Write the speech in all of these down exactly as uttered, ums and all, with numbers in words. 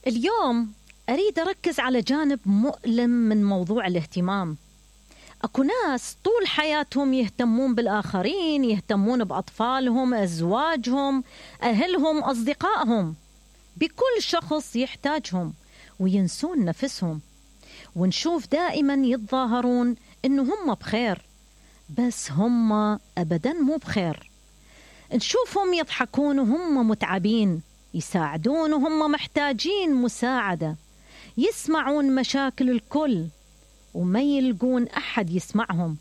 اليوم أريد أركز على جانب مؤلم من موضوع الاهتمام. أكو ناس طول حياتهم يهتمون بالآخرين، يهتمون بأطفالهم، أزواجهم، أهلهم، أصدقائهم، بكل شخص يحتاجهم، وينسون نفسهم. ونشوف دائما يتظاهرون إنه هم بخير، بس هم أبدا مو بخير. نشوفهم يضحكون وهم متعبين، يساعدون وهم محتاجين مساعدة، يسمعون مشاكل الكل وما يلقون أحد يسمعهم.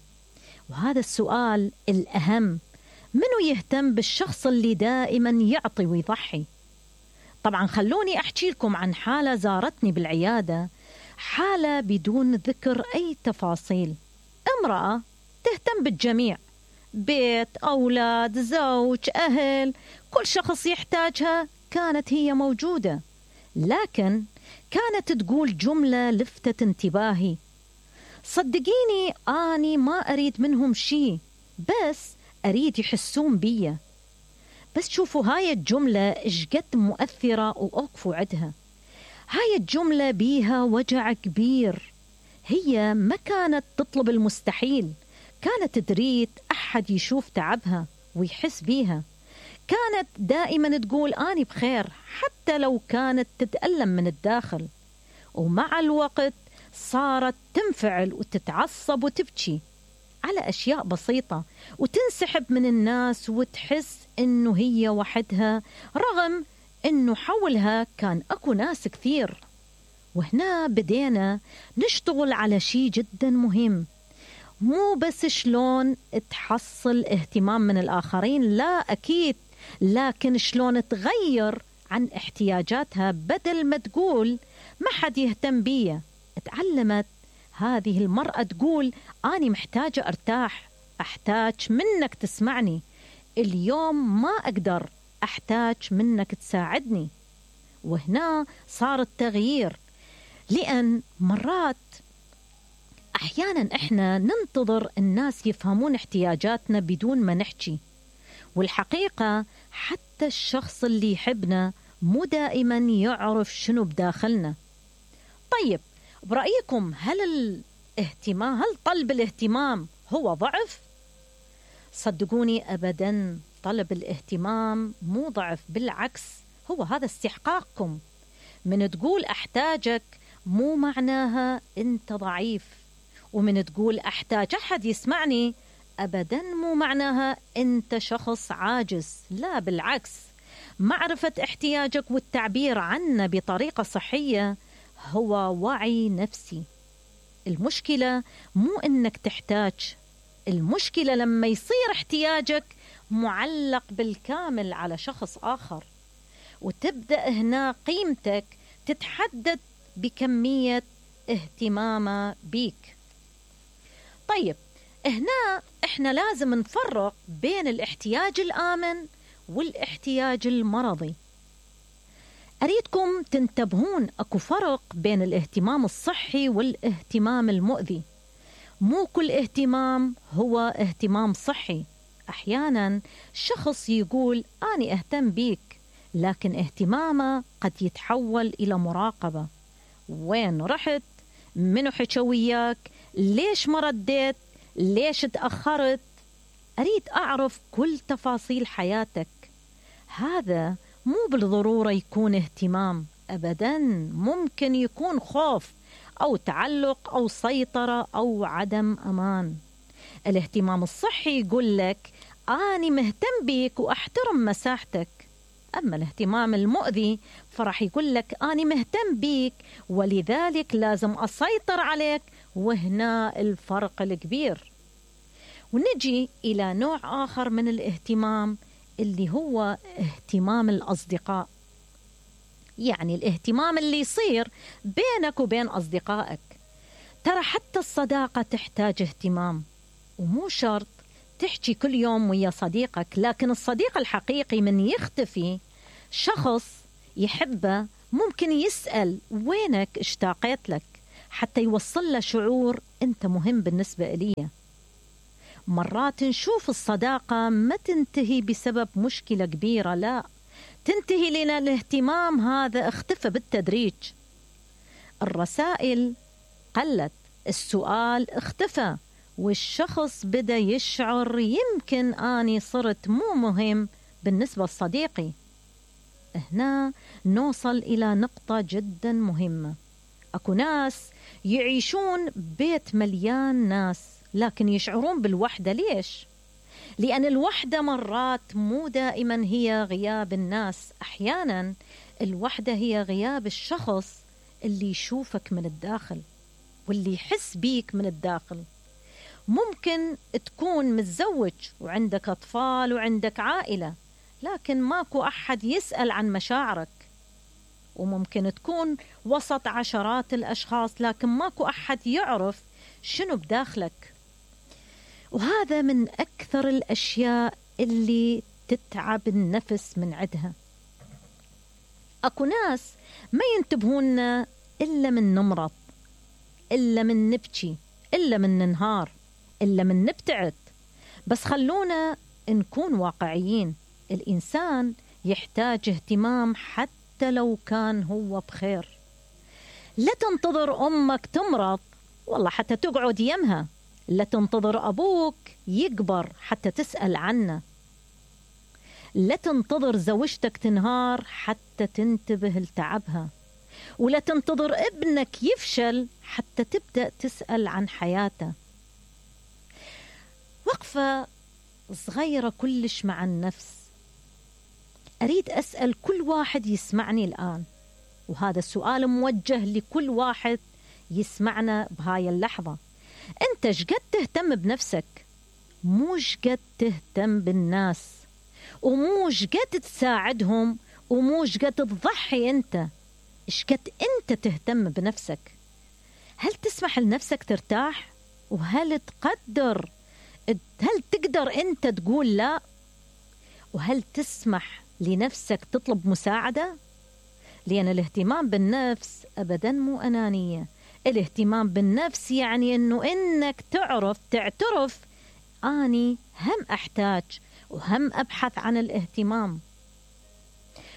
وهذا السؤال الأهم: منو يهتم بالشخص اللي دائما يعطي ويضحي؟ طبعا خلوني أحكي لكم عن حالة زارتني بالعيادة، حالة بدون ذكر أي تفاصيل. امرأة تهتم بالجميع، بيت، أولاد، زوج، أهل، كل شخص يحتاجها كانت هي موجودة. لكن كانت تقول جملة لفتت انتباهي: صدقيني أني ما أريد منهم شيء، بس أريد يحسون بي. بس شوفوا هاي الجملة إشقد مؤثرة، وأوقفوا عدها. هاي الجملة بيها وجع كبير. هي ما كانت تطلب المستحيل، كانت تريد أحد يشوف تعبها ويحس بيها. كانت دائما تقول أني بخير، حتى لو كانت تتألم من الداخل. ومع الوقت صارت تنفعل وتتعصب وتبكي على أشياء بسيطة، وتنسحب من الناس وتحس إنه هي وحدها، رغم إنه حولها كان أكو ناس كثير. وهنا بدينا نشتغل على شيء جدا مهم، مو بس شلون تحصل اهتمام من الآخرين، لا أكيد، لكن شلون تغير عن احتياجاتها. بدل ما تقول ما حد يهتم بي، تعلمت هذه المرأة تقول أنا محتاجة أرتاح، أحتاج منك تسمعني، اليوم ما أقدر، أحتاج منك تساعدني. وهنا صار التغيير، لأن مرات أحيانا إحنا ننتظر الناس يفهمون احتياجاتنا بدون ما نحكي، والحقيقة حتى الشخص اللي يحبنا مو دائما يعرف شنو بداخلنا. طيب برأيكم، هل الاهتمام هل طلب الاهتمام هو ضعف؟ صدقوني أبدا، طلب الاهتمام مو ضعف، بالعكس هو هذا استحقاقكم. من تقول أحتاجك مو معناها أنت ضعيف، ومن تقول أحتاج أحد يسمعني أبدا مو معناها أنت شخص عاجز. لا، بالعكس، معرفة احتياجك والتعبير عنه بطريقة صحية هو وعي نفسي. المشكلة مو أنك تحتاج، المشكلة لما يصير احتياجك معلق بالكامل على شخص آخر، وتبدأ هنا قيمتك تتحدد بكمية اهتمامه بيك. طيب هنا احنا لازم نفرق بين الاحتياج الآمن والاحتياج المرضي. أريدكم تنتبهون، أكو فرق بين الاهتمام الصحي والاهتمام المؤذي. مو كل اهتمام هو اهتمام صحي. أحيانا شخص يقول أنا أهتم بيك، لكن اهتمامه قد يتحول إلى مراقبة. وين رحت؟ منو حكى وياك؟ ليش ما رديت؟ ليش تأخرت؟ أريد أعرف كل تفاصيل حياتك. هذا مو بالضرورة يكون اهتمام أبدا، ممكن يكون خوف أو تعلق أو سيطرة أو عدم أمان. الاهتمام الصحي يقول لك أنا مهتم بيك وأحترم مساحتك، أما الاهتمام المؤذي فرح يقول لك أنا مهتم بيك ولذلك لازم أسيطر عليك. وهنا الفرق الكبير. ونجي إلى نوع آخر من الاهتمام اللي هو اهتمام الأصدقاء، يعني الاهتمام اللي يصير بينك وبين أصدقائك. ترى حتى الصداقة تحتاج اهتمام، ومو شرط تحكي كل يوم ويا صديقك، لكن الصديق الحقيقي من يختفي شخص يحبه ممكن يسأل وينك، اشتاقيت لك، حتى يوصل له شعور أنت مهم بالنسبة إلي. مرات نشوف الصداقة ما تنتهي بسبب مشكلة كبيرة، لا، تنتهي لنا الاهتمام هذا اختفى بالتدريج. الرسائل قلت، السؤال اختفى، والشخص بدأ يشعر يمكن أني صرت مو مهم بالنسبة لصديقي. هنا نوصل إلى نقطة جدا مهمة. أكو ناس يعيشون بيت مليان ناس لكن يشعرون بالوحدة. ليش؟ لأن الوحدة مرات مو دائما هي غياب الناس، أحيانا الوحدة هي غياب الشخص اللي يشوفك من الداخل واللي يحس بيك من الداخل. ممكن تكون متزوج وعندك أطفال وعندك عائلة لكن ماكو أحد يسأل عن مشاعرك، وممكن تكون وسط عشرات الأشخاص لكن ماكو أحد يعرف شنو بداخلك. وهذا من أكثر الأشياء اللي تتعب النفس من عدها. أكو ناس ما ينتبهون إلا من نمرض، إلا من نبكي، إلا من ننهار، إلا من نبتعد. بس خلونا نكون واقعيين، الإنسان يحتاج اهتمام حتى لو كان هو بخير. لا تنتظر أمك تمرض والله حتى تقعد يمها، لا تنتظر أبوك يكبر حتى تسأل عنه، لا تنتظر زوجتك تنهار حتى تنتبه لتعبها، ولا تنتظر ابنك يفشل حتى تبدأ تسأل عن حياته. وقفة صغيرة كلش مع النفس. أريد أسأل كل واحد يسمعني الآن، وهذا السؤال موجه لكل واحد يسمعنا بهاي اللحظة. أنت شقد تهتم بنفسك؟ مو شقد تهتم بالناس، ومو شقد تساعدهم، ومو شقد تضحي أنت، شقد أنت تهتم بنفسك؟ هل تسمح لنفسك ترتاح؟ وهل تقدر هل تقدر أنت تقول لا؟ وهل تسمح لنفسك تطلب مساعدة؟ لأن الاهتمام بالنفس أبدا مو أنانية. الاهتمام بالنفس يعني أنه إنك تعرف تعترف أني هم أحتاج وهم أبحث عن الاهتمام.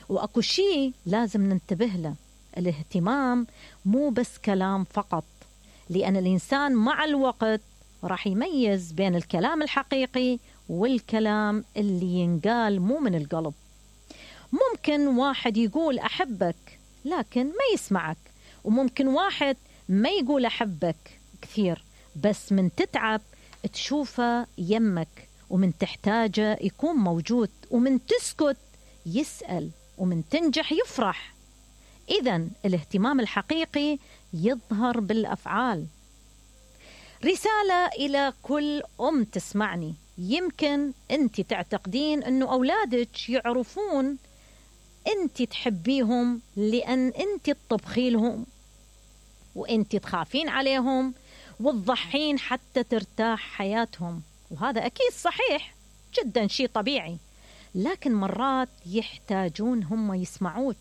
وأكو شيء لازم ننتبه له، الاهتمام مو بس كلام فقط، لأن الإنسان مع الوقت راح يميز بين الكلام الحقيقي والكلام اللي ينقال مو من القلب. ممكن واحد يقول أحبك لكن ما يسمعك، وممكن واحد ما يقول أحبك كثير بس من تتعب تشوفه يمك، ومن تحتاجه يكون موجود، ومن تسكت يسأل، ومن تنجح يفرح. إذن الاهتمام الحقيقي يظهر بالأفعال. رسالة إلى كل أم تسمعني، يمكن أنت تعتقدين أنه أولادك يعرفون أنت تحبيهم لأن أنت تطبخي لهم، وأنت تخافين عليهم وتضحين حتى ترتاح حياتهم، وهذا أكيد صحيح جدا شيء طبيعي. لكن مرات يحتاجون هم يسمعوك،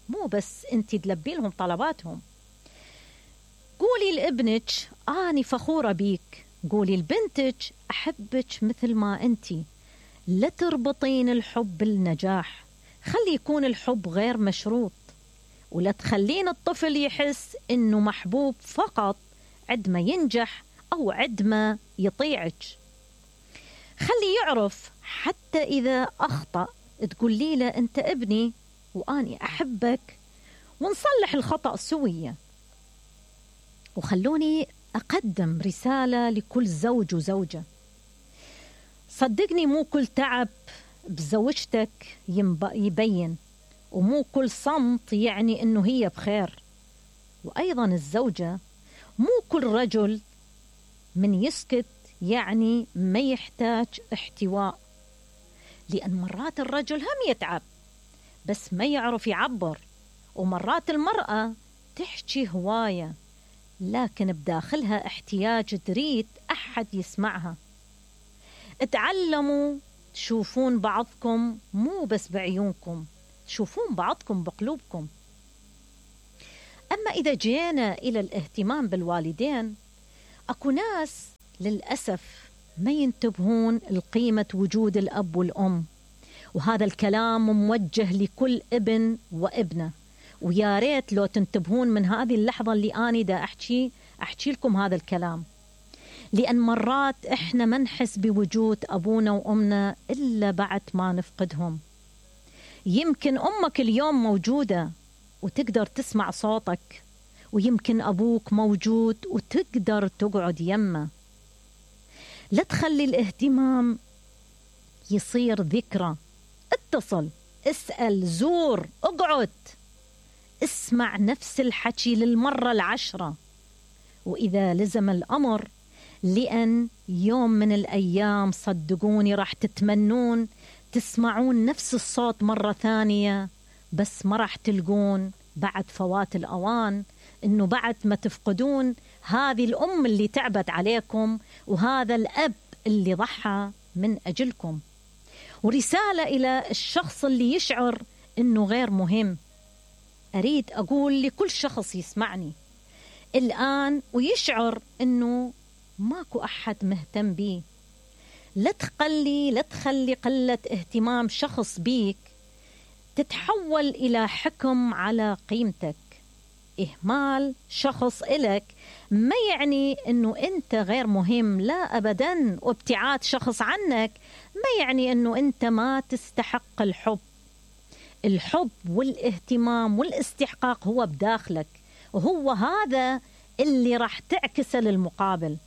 مو بس أنت تلبي لهم طلباتهم. قولي لابنك أنا فخورة بيك، قولي لبنتك أحبك مثل ما أنت. لا تربطين الحب بالنجاح، خلي يكون الحب غير مشروط، ولا تخلين الطفل يحس إنه محبوب فقط عندما ينجح أو عندما يطيعك. خلي يعرف حتى إذا أخطأ تقولي له أنت ابني وأني أحبك، ونصلح الخطأ سويا. وخلوني أقدم رسالة لكل زوج وزوجة. صدقني مو كل تعب بزوجتك يبين، ومو كل صمت يعني إنه هي بخير. وأيضا الزوجة مو كل رجل من يسكت يعني ما يحتاج احتواء، لأن مرات الرجل هم يتعب بس ما يعرف يعبر، ومرات المرأة تحكي هواية لكن بداخلها احتياج تريد أحد يسمعها. اتعلموا تشوفون بعضكم مو بس بعيونكم، تشوفون بعضكم بقلوبكم. أما إذا جينا إلى الاهتمام بالوالدين، أكو ناس للأسف ما ينتبهون لقيمة وجود الأب والأم، وهذا الكلام موجه لكل ابن وابنة. ويا ريت لو تنتبهون من هذه اللحظة اللي أنا دا أحكي أحكي لكم هذا الكلام، لأن مرات إحنا ما نحس بوجود أبونا وأمنا إلا بعد ما نفقدهم. يمكن أمك اليوم موجودة وتقدر تسمع صوتك، ويمكن أبوك موجود وتقدر تقعد يمه. لا تخلي الاهتمام يصير ذكرى. اتصل، اسأل، زور، اقعد، اسمع نفس الحكي للمرة العشرة. وإذا لزم الأمر، لأن يوم من الأيام صدقوني راح تتمنون تسمعون نفس الصوت مرة ثانية، بس ما راح تلقون بعد فوات الأوان إنه بعد ما تفقدون هذه الأم اللي تعبت عليكم وهذا الأب اللي ضحى من أجلكم. ورسالة إلى الشخص اللي يشعر إنه غير مهم، أريد أقول لكل شخص يسمعني الآن ويشعر إنه ماكو أحد مهتم بيه، لا تخلي لا تخلي قلة اهتمام شخص بيك تتحول إلى حكم على قيمتك. إهمال شخص إلك ما يعني أنه أنت غير مهم، لا أبدا. وابتعاد شخص عنك ما يعني أنه أنت ما تستحق الحب. الحب والاهتمام والاستحقاق هو بداخلك، وهو هذا اللي راح تعكسه للمقابل.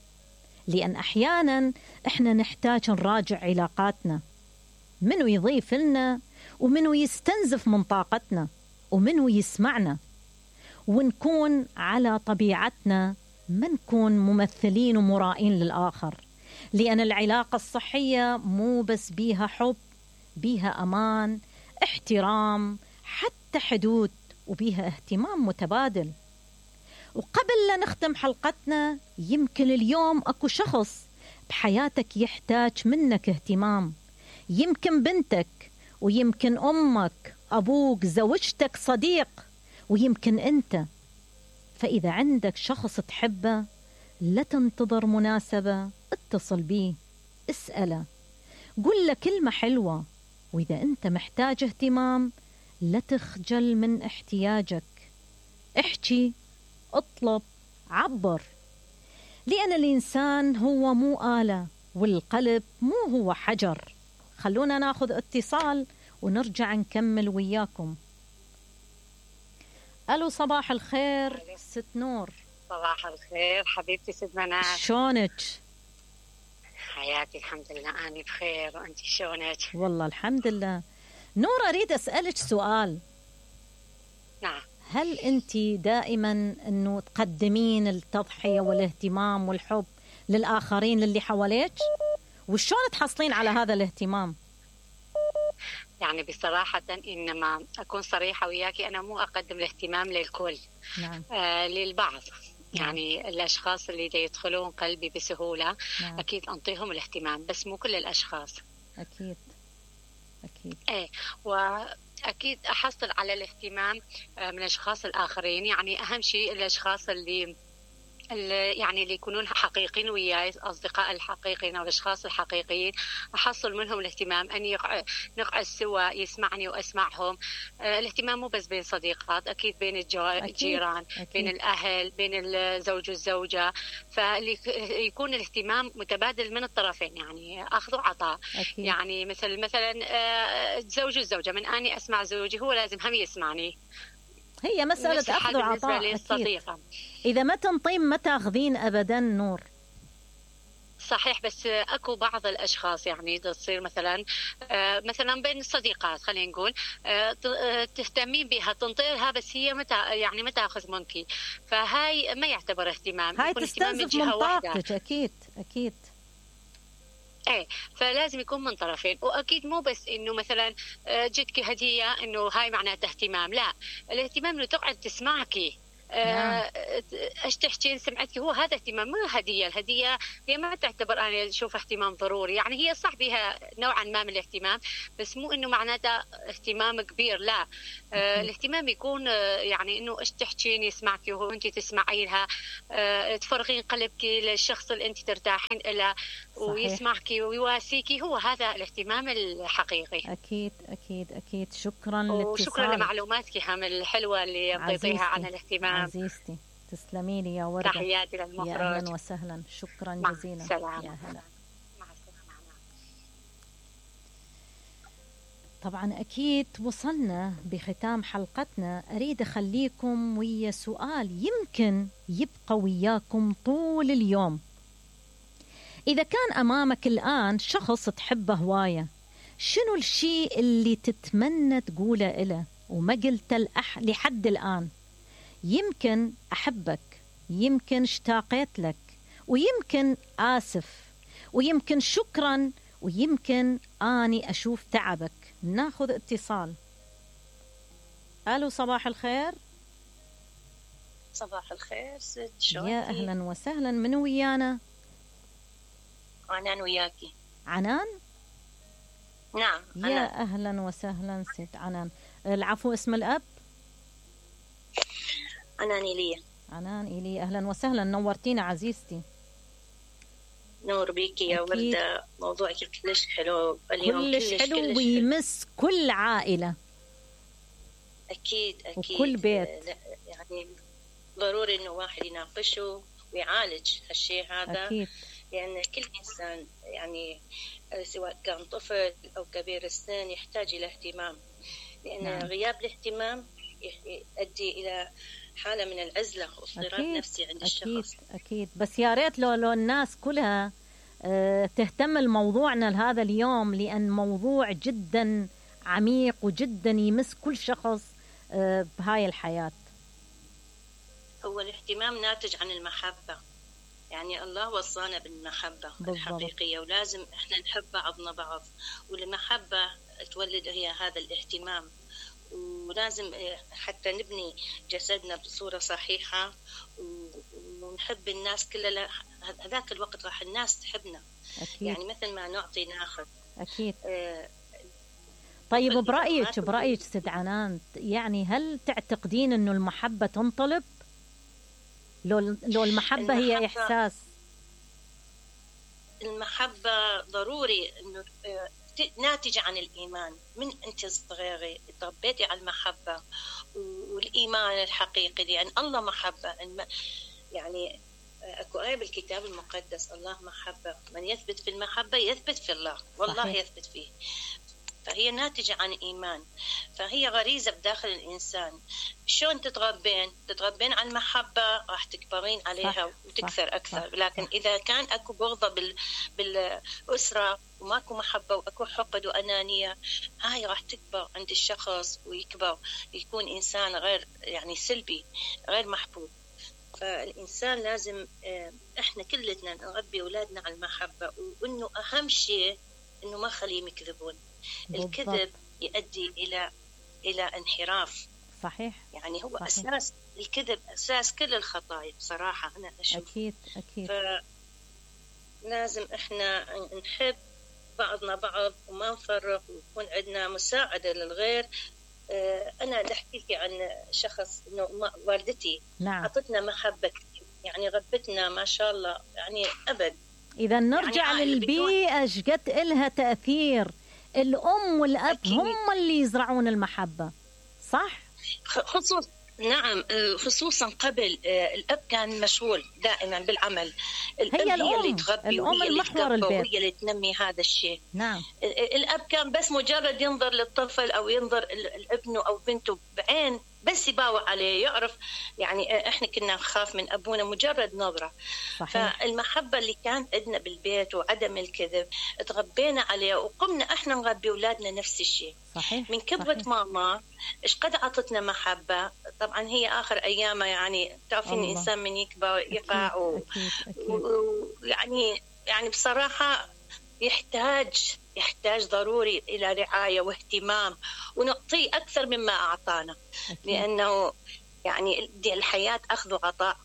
لأن أحيانا إحنا نحتاج نراجع علاقاتنا، منو يضيف لنا ومنو يستنزف من طاقتنا ومنو يسمعنا، ونكون على طبيعتنا، ما نكون ممثلين ومرائين للآخر. لأن العلاقة الصحية مو بس بيها حب، بيها أمان، احترام، حتى حدود، وبيها اهتمام متبادل. وقبل لا نختم حلقتنا، يمكن اليوم أكو شخص بحياتك يحتاج منك اهتمام، يمكن بنتك، ويمكن أمك، أبوك، زوجتك، صديق، ويمكن أنت. فإذا عندك شخص تحبه لا تنتظر مناسبة، اتصل بيه، اسأله، قل له كلمة حلوة. وإذا أنت محتاج اهتمام لا تخجل من احتياجك، احكي، اطلب، عبر. لأن الإنسان هو مو آلة، والقلب مو هو حجر. خلونا ناخذ اتصال ونرجع نكمل وياكم. ألو، صباح الخير ست نور. صباح الخير حبيبتي ست منال، شلونك؟ حياتي الحمد لله أنا بخير، وأنت شلونك؟ والله الحمد لله. نور، أريد أسألك سؤال. نعم. هل أنت دائما أنه تقدمين التضحية والاهتمام والحب للآخرين للي حواليك؟ وشون تحصلين على هذا الاهتمام؟ يعني بصراحة إنما أكون صريحة وياكي، أنا مو أقدم الاهتمام للكل. نعم. آه للبعض. يعني الأشخاص اللي يدخلون قلبي بسهولة. نعم. أكيد أنطيهم الاهتمام، بس مو كل الأشخاص. أكيد أكيد. إيه، وأكيد أحصل على الاهتمام من الأشخاص الآخرين. يعني أهم شيء الأشخاص اللي يعني اللي يكونون حقيقيين وياي، أصدقاء الحقيقيين أو الأشخاص الحقيقيين، أحصل منهم الاهتمام، أني نقعد سوا يسمعني وأسمعهم. الاهتمام مو بس بين صديقات، أكيد بين الجيران، بين الأهل، بين الزوج والزوجة. فيكون الاهتمام متبادل من الطرفين، يعني أخذ وعطاء. يعني مثل مثلا الزوج والزوجة، من أني أسمع زوجي هو لازم هم يسمعني. هي مسألة أخذ وعطاء. إذا ما تنطين ما تاخذين أبدا. نور، صحيح، بس أكو بعض الأشخاص يعني تصير مثلا مثلا بين الصديقات، خلينا نقول تهتمين بها، تنطيها، بس هي متى يعني ما تاخذ منك، فهاي ما يعتبر اهتمام، هاي تستنزف من طاقتك. أكيد أكيد. ايه، فلازم يكون من طرفين. واكيد مو بس انه مثلا جتك هديه انه هاي معناتها اهتمام، لا، الاهتمام انه تقعد تسمعكي، نعم. ايش تحكين سمعتك، هو هذا اهتمام مو هديه. الهديه هي ما تعتبر، انا اشوف اهتمام ضروري، يعني هي صح بها نوعا ما من الاهتمام، بس مو انه معناته اهتمام كبير، لا. آه الاهتمام يكون آه يعني انه ايش تحكين يسمعك وانت تسمعي لها، آه تفرغين قلبك للشخص اللي انت ترتاحين له ويسمعك ويواسيكي، هو هذا الاهتمام الحقيقي. اكيد اكيد اكيد. شكرا وشكرا لمعلوماتك هم الحلوه اللي اعطيتيها عن الاهتمام. عزيزتي تسلمي لي يا وردة. تحياتي للمخرج. يا اهلا وسهلا، شكرا مع جزيلا. السلامة. يا هلا. مع السلامة. طبعا أكيد وصلنا بختام حلقتنا. أريد أخليكم ويا سؤال يمكن يبقى وياكم طول اليوم. إذا كان أمامك الآن شخص تحبه هواية، شنو الشيء اللي تتمنى تقوله إله وما قلت لأح لحد الآن؟ يمكن أحبك، يمكن اشتاقت لك، ويمكن آسف، ويمكن شكرا، ويمكن آني أشوف تعبك. ناخذ اتصال. ألو، صباح الخير. صباح الخير ست، شلونك؟ يا أهلا وسهلا، من ويانا؟ عنان وياكي. عنان؟ نعم. يا عنان. أهلا وسهلا ست عنان. العفو، اسم الأب؟ عنان إيليا. عنان إيليا، أهلا وسهلا، نورتينا عزيزتي. نور بيكي يا وردة، موضوعك كلش حلو اليوم، كلش, كلش حلو كلش ويمس كل عائلة. أكيد أكيد، وكل بيت. يعني ضروري إنه واحد يناقشه ويعالج هالشيء هذا. أكيد. لأن يعني كل إنسان يعني سواء كان طفل أو كبير السن يحتاج إلى اهتمام، لأن نعم. غياب الاهتمام يؤدي إلى حالة من العزلة واضطراب نفسي عند الشخص. أكيد أكيد. بس يا ريت لو لو الناس كلها اه تهتم لموضوعنا لهذا اليوم، لأن موضوع جدا عميق وجدا يمس كل شخص اه بهاي الحياة. هو الاهتمام ناتج عن المحبة، يعني الله وصانا بالمحبة بالضبط. الحقيقية، ولازم احنا نحب بعضنا بعض، والمحبة تولد هي هذا الاهتمام. ولازم حتى نبني جسدنا بصورة صحيحة ونحب الناس كلها، هذاك الوقت راح الناس تحبنا. أكيد. يعني مثل ما نعطي ناخذ. أكيد. آه طيب، برأيك برأيك ست عنان، يعني هل تعتقدين إنه المحبة تنطلب؟ لو لو المحبة, المحبة هي إحساس. المحبة ضروري إنه ناتجة عن الإيمان. من أنت صغيرة تربيتي على المحبة والإيمان الحقيقي، لأن الله محبة. يعني أكو آية بالكتاب المقدس، الله محبة، من يثبت في المحبة يثبت في الله، والله صحيح. يثبت فيه. فهي ناتجة عن إيمان، فهي غريزة بداخل الإنسان. شلون تتربين؟ تتربين على المحبة، راح تكبرين عليها صح. وتكثر صح. أكثر صح. لكن صح. إذا كان أكو بغضة بال... بالأسرة وماكو محبة وأكو حقد وأنانية، هاي راح تكبر عند الشخص ويكبر يكون إنسان غير يعني سلبي، غير محبوب. فالإنسان لازم إحنا كلنا نربي أولادنا على المحبة، وإنه أهم شيء إنه ما خليهم يكذبون. الكذب يؤدي إلى إلى انحراف. صحيح. يعني هو صحيح. أساس الكذب، أساس كل الخطايا بصراحة أنا أشوف. أكيد أكيد. فلازم إحنا نحب بعضنا بعض وما نفرق، ويكون عندنا مساعدة للغير. أنا أحكي لك عن شخص، إنه والدتي نعم. أعطتنا محبة كثير، يعني ربتنا ما شاء الله يعني أبد. إذا نرجع يعني للبيئة شقد إلها تأثير. الأم والأب أكيد. هم اللي يزرعون المحبة، صح؟ خصوص نعم، خصوصا قبل الأب كان مشغول دائما بالعمل، الأم هي, هي اللي تربي، الأم المحور البيت، وهي اللي تنمي هذا الشيء. نعم. الأب كان بس مجرد ينظر للطفل أو ينظر لابنه أو بنته بعين، بس يباوع عليه، يعرف. يعني احنا كنا نخاف من ابونا مجرد نظره. صحيح. فالمحبه اللي كانت عندنا بالبيت وعدم الكذب تربينا عليه، وقمنا احنا نربي اولادنا نفس الشيء. صحيح. من كبرت صحيح. ماما ايش قد عطتنا محبه. طبعا هي اخر ايامها، يعني تعرفين الانسان من يكبر يقع ويعني و... يعني بصراحه يحتاج يحتاج ضروري إلى رعاية واهتمام، ونعطيه أكثر مما أعطانا. أكيد. لأنه يعني دي الحياة أخذ وعطاء،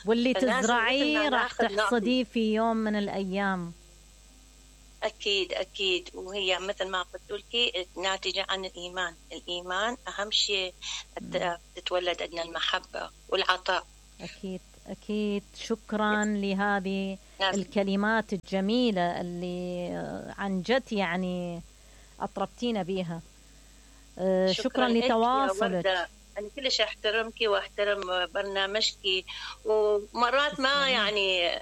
واللي فلازم تزرعيه مثل ما راح ناخذ تحصديه في يوم من الأيام. أكيد أكيد. وهي مثل ما قلت لك ناتجة عن الإيمان. الإيمان أهم شيء حتى تتولد عندنا المحبة والعطاء. أكيد أكيد. شكرا لهذه لازم. الكلمات الجميلة اللي عن جد يعني أطربتينا بيها. شكرا, شكرا لتواصلك. أنا كلش أحترمك وأحترم برنامجك، ومرات ما يعني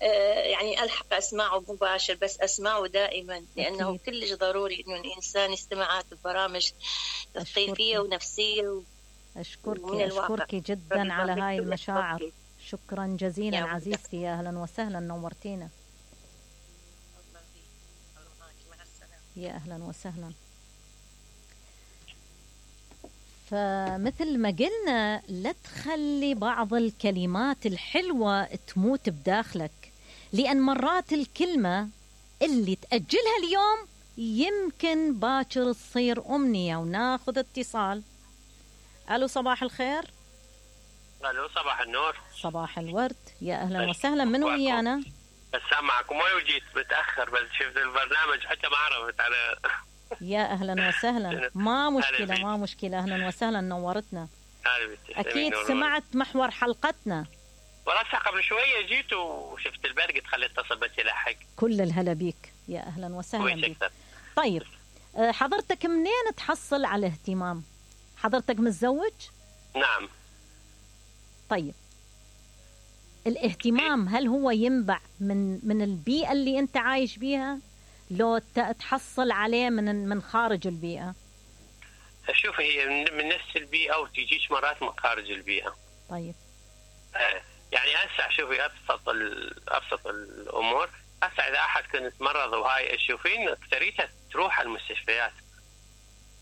يعني ألحق أسمعه مباشر، بس أسمعه دائما لأنه أكيد. كلش ضروري إنه الإنسان يستمع هذه البرامج تثقيفية ونفسية. أشكرك أشكرك جدا على هاي المشاعر. شكرا جزيلا عزيزتي، يا أهلا وسهلا، نورتينا. يا أهلا وسهلا. فمثل ما قلنا لا تخلي بعض الكلمات الحلوة تموت بداخلك، لأن مرات الكلمة اللي تأجلها اليوم يمكن باكر تصير أمنية. وناخذ اتصال. ألو صباح الخير. ألو صباح النور. صباح الورد، يا أهلا وسهلا. من ويانا؟ أسمعكم ولو جيت متأخر، بس شفت البرنامج حتى ما عرفت على. يا أهلا وسهلا. ما مشكلة ما مشكلة. أهلا وسهلا، نورتنا. أكيد سمعت محور حلقتنا. وراسها قبل شوية جيت وشفت البرق قلت خليت اتصل بس يلحق. كل الهلا بيك، يا أهلا وسهلا بيك. طيب حضرتك منين تحصل على اهتمام؟ حضرتك متزوج؟ نعم. طيب الاهتمام هل هو ينبع من من البيئة اللي أنت عايش بيها، لو تحصل عليه من من خارج البيئة؟ شوف، هي من نفس البيئة وتجيش مرات من خارج البيئة. طيب آه يعني هسه شوفي ابسط ابسط الامور. هسه اذا احد كنت مرض وهاي تشوفين اكثريتها تروح على المستشفيات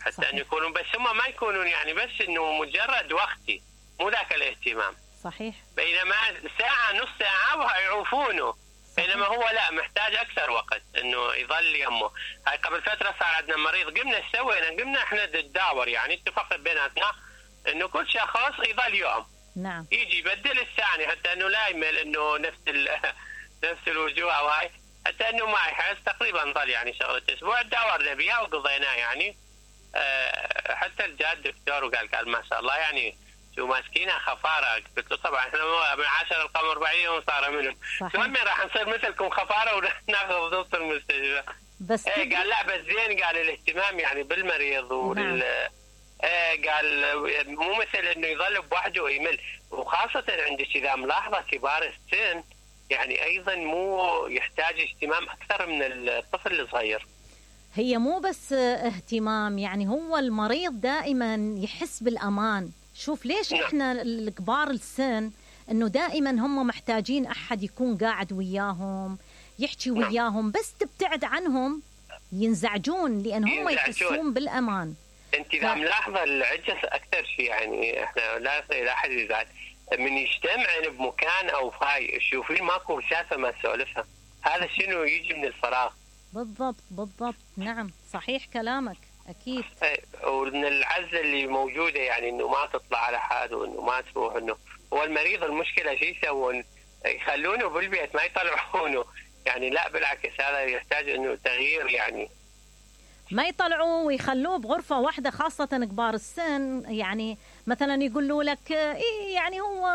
حتى صحيح. ان يكونوا بس هم ما يكونون يعني بس انه مجرد وقتي، مو ذاك الاهتمام. صحيح. بينما ساعه نص ساعه ويعوفونه، بينما هو لا، محتاج اكثر وقت انه يظل يمه. هاي قبل فتره صار عندنا مريض، قمنا سوينا قمنا احنا نتداور يعني اتفقنا بيناتنا انه كل شخص يظل يوم. نعم. يجي يبدل الثاني حتى انه لا يمل انه نفس نفس الوجوه او هاي، حتى انه ما يحس. تقريبا ظل يعني شغله اسبوع دورنا بها وقضيناه يعني. أه حتى الجاد دكتور وقال قال ما شاء الله يعني شو ماسكينها خفاره. قلت له طبعا احنا من عشر القمر بعيد وصار منهم. المهم راح نصير مثلكم خفاره وناخذ ضبط المستشفى. بس ايه قال لا بس زين، قال الاهتمام يعني بالمريض وال نعم. ايه قال مو مثل انه يظل بوحده ويمل، وخاصه عندك اذا ملاحظه كبار السن يعني ايضا مو يحتاج اهتمام اكثر من الطفل الصغير. هي مو بس اهتمام، يعني هو المريض دائما يحس بالامان. شوف ليش نعم. احنا الكبار السن انه دائما هم محتاجين احد يكون قاعد وياهم يحكي نعم. وياهم، بس تبتعد عنهم ينزعجون لان هم يحسون بالامان. انت اذا ف... ملاحظه العجز اكثر شيء يعني احنا لا لا احد يزعل من يجتمعن بمكان او هاي تشوفين ماكو شافه ما سولفها، هذا شنو يجي من الفراغ. بالضبط بالضبط. نعم صحيح كلامك اكيد. ومن العزله اللي موجوده يعني انه ما تطلع على حد وانه ما تروح، انه هو المريض المشكله شو يسوون؟ يخلونه بالبيت ما يطلعونه يعني. لا بالعكس هذا يحتاج انه تغيير يعني. ما يطلعوه ويخلوه بغرفة واحدة، خاصة كبار السن يعني. مثلا يقولوا لك إيه يعني هو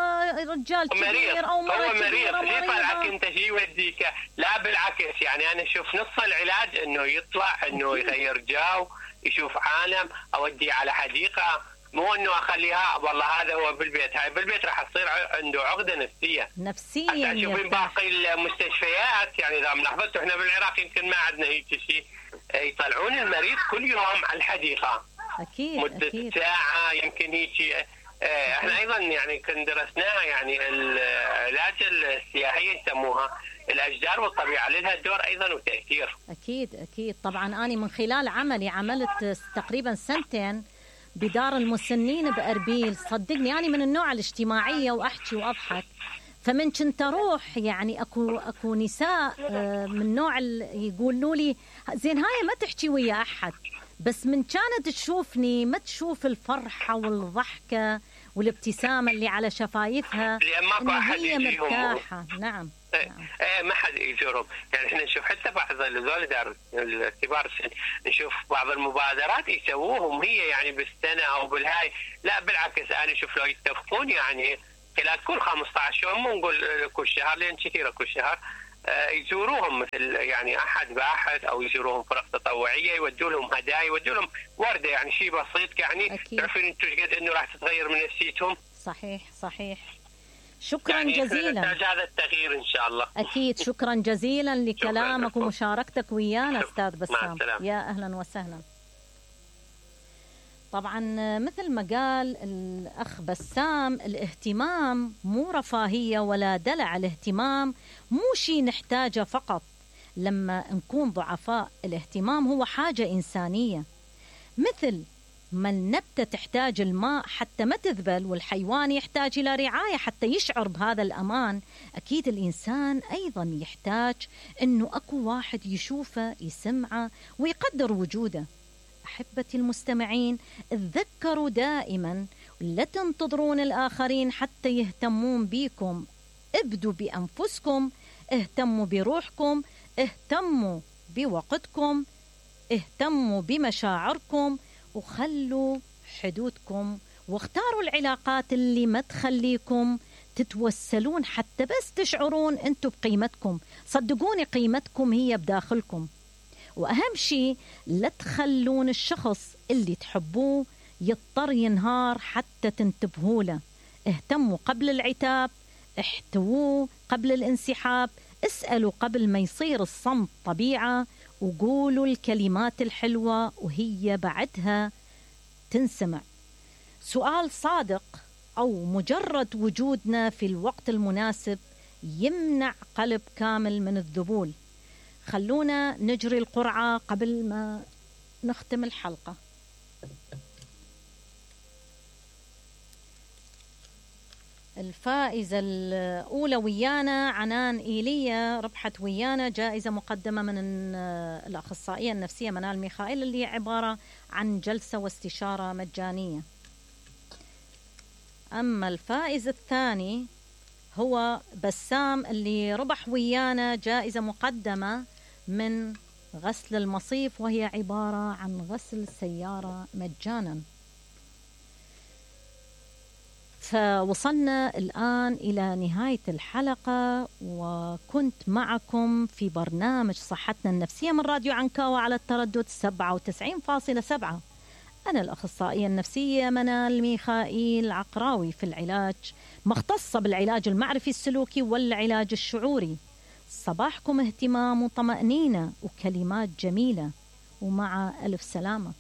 رجال كبير أو مرة كبيرة. ليه طلعك أنت شيء يوديك؟ لا بالعكس يعني أنا أشوف نص العلاج إنه يطلع إنه يغير جو، يشوف عالم، أوديه على حديقة، مو إنه أخليها والله هذا هو بالبيت. هاي بالبيت راح تصير عنده عقدة نفسية. نفسيا. تشوفين باقي المستشفيات يعني إذا ملاحظتوا إحنا بالعراق يمكن ما عندنا هيك شيء، يطلعون المريض كل يوم على الحديقة أكيد مدة أكيد. ساعة يمكن هيك. احنا ايضا يعني كنا درسناها يعني العلاج السياحي يسموها الاشجار والطبيعه، لها دور ايضا وتاثير. اكيد اكيد طبعا. انا من خلال عملي عملت تقريبا سنتين بدار المسنين باربيل. صدقني انا من النوع الاجتماعيه واحكي واضحك، فمن كنت اروح يعني اكو اكو نساء من نوع يقولوا لي زين هاي ما تحكي ويا احد، بس من كانت تشوفني ما تشوف الفرحة والضحكة والابتسامة اللي على شفايفها، لأن ماكو أحد هي يجيهم. مرتاحة. نعم. ايه ايه ما حد يزورهم. يعني احنا نشوف حتى بعض الذول دار الكبار السن، نشوف بعض المبادرات يسووهم هي يعني بالسنه او بالهاي، لا بالعكس انا اشوف لو يتفقون يعني خلال كل خمسة عشر يوم، مو نقول كل شهر لان كثيره كل شهر، آه يزوروهم مثل يعني احد باحد او يزوروهم فرق تطوعيه، يودوا لهم هدايا، يودوا لهم ورده، يعني شيء بسيط يعني تعرفين انتم قد انه راح تتغير من نفسيتهم. صحيح صحيح. شكرا يعني جزيلا. نحتاج هذا التغيير ان شاء الله. اكيد. شكرا جزيلا لكلامك شكراً. ومشاركتك ويانا استاذ بسام. يا اهلا وسهلا. طبعا مثل ما قال الاخ بسام، الاهتمام مو رفاهيه ولا دلع، الاهتمام مو شيء نحتاجه فقط لما نكون ضعفاء، الاهتمام هو حاجه انسانيه. مثل ما النبتة تحتاج الماء حتى ما تذبل، والحيوان يحتاج إلى رعاية حتى يشعر بهذا الأمان، أكيد الإنسان أيضا يحتاج أنه أكو واحد يشوفه يسمعه ويقدر وجوده. أحبتي المستمعين، تذكروا دائما لا تنتظرون الآخرين حتى يهتمون بيكم، ابدوا بأنفسكم، اهتموا بروحكم، اهتموا بوقتكم، اهتموا بمشاعركم، وخلوا حدودكم، واختاروا العلاقات اللي ما تخليكم تتوسلون حتى بس تشعرون انتم بقيمتكم. صدقوني قيمتكم هي بداخلكم. وأهم شيء لا تخلون الشخص اللي تحبوه يضطر ينهار حتى تنتبهوا له. اهتموا قبل العتاب، احتووه قبل الانسحاب، اسألوا قبل ما يصير الصمت طبيعة، وقولوا الكلمات الحلوة وهي بعدها تنسمع. سؤال صادق أو مجرد وجودنا في الوقت المناسب يمنع قلب كامل من الذبول. خلونا نجري القرعة قبل ما نختم الحلقة. الفائزة الأولى ويانا عنان إيليا، ربحت ويانا جائزة مقدمة من الأخصائية النفسية منال ميخائيل، اللي هي عبارة عن جلسة واستشارة مجانية. أما الفائز الثاني هو بسام، اللي ربح ويانا جائزة مقدمة من غسل المصيف، وهي عبارة عن غسل السيارة مجانا. فوصلنا الآن إلى نهاية الحلقة، وكنت معكم في برنامج صحتنا النفسية من راديو عنكاوة على التردد سبعة وتسعين فاصلة سبعة. أنا الأخصائية النفسية منال ميخائيل عقراوي، في العلاج مختصة بالعلاج المعرفي السلوكي والعلاج الشعوري. صباحكم اهتمام وطمأنينة وكلمات جميلة، ومع ألف سلامة.